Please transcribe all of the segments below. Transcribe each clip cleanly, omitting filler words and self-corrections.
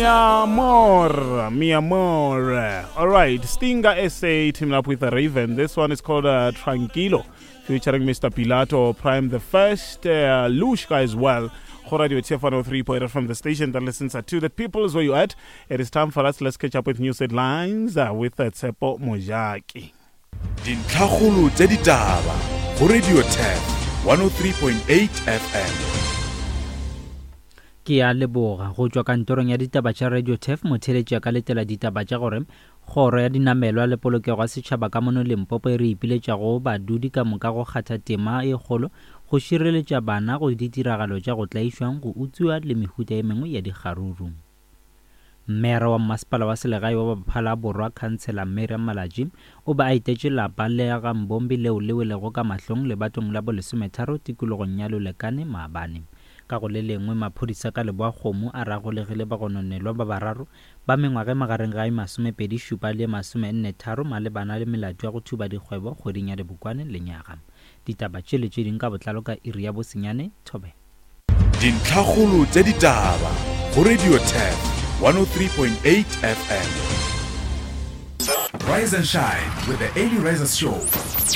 Mi amor, mi amor. All right, Stinger SA teaming up with Raven. This one is called uh, Tranquilo, featuring Mr. Pilato, Prime the First, uh, Lushka as well. Go Radio TF 103.8 from the station that listens to the people is where you at. It is time for us. Let's catch up with news headlines uh, with uh, Tsepo Mojaki. Dintlhakgolo tša ditaba go Radio Turf 103.8 FM. Ke a leboga. Go tšwa kantorong ya ditaba tša Radio Turf, motheeletši a ka letela ditaba tša gore Kgoro ya Dinamelwa le Polokego ya Setšhaba ka mono Limpopo e re ipiletša go badudi ka moka go kgatha tema e kgolo go šireletša bana go ditiragalo tša go tlaišwa, go utswiwa le mehuta e mengwe ya dikgaruru. Meyara wa Mmasepala wa Selegae wa Baphala Borwa Khansela Miriam Malatji o be a etetše lapa le ga Mbombi leo le welego ka mahlong lebatong la bolesometharo tikologong ya Lolekane maabane. Ka go le lengwe maphodisa ka Leboakgomo a re a golegile bagononelwa ba bararo ba mengwaga e magareng ga e masomepedi šupa le e masomenne tharo malebana le melato ya go thuba dikgwebo kgweding ya Dibokwane lenyaga. Ditaba tše le tše ding ka botlalo ka iri ya bosenyane. Thobela. Dintlhakgolo tša ditaba go Radio Turf 103.8 FM. Rise and shine with the Early Risers Show,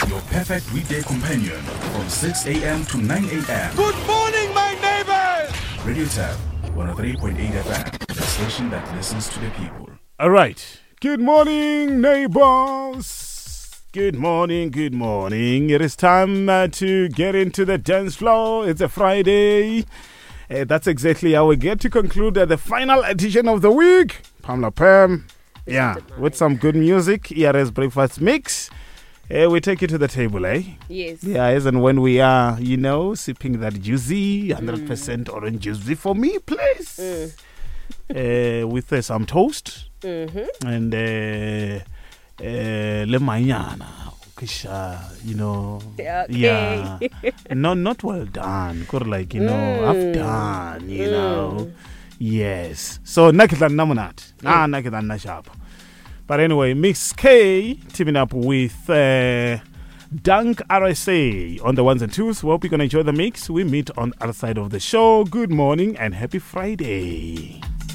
your perfect weekday companion from 6 a.m. to 9 a.m. Good morning, my neighbors! Radio Turf 103.8 FM, the station that listens to the people. All right. Good morning, neighbors. Good morning, good morning. It is time uh, to get into the dance floor. It's a Friday. Uh, that's exactly how we get to conclude uh, the final edition of the week. Pamela Pam. Yeah, with some good music, ERS Breakfast Mix. Uh, we take you to the table, eh? Yes. Yeah, as and when we are, you know, sipping that juicy, 100% mm. orange juice for me, please. Mm. Uh, with uh, some toast mm-hmm. and uh, uh, le manyana you know okay. yeah no not well done kore like you know mm. half done you mm. know yes so nna ke tla nna monate na nna ke tla nna shapo but anyway mix k teaming up with uh, Dunk RSA on the ones and twos. We hope you're going to enjoy the mix. We meet on the other side of the show. Good morning and happy Friday.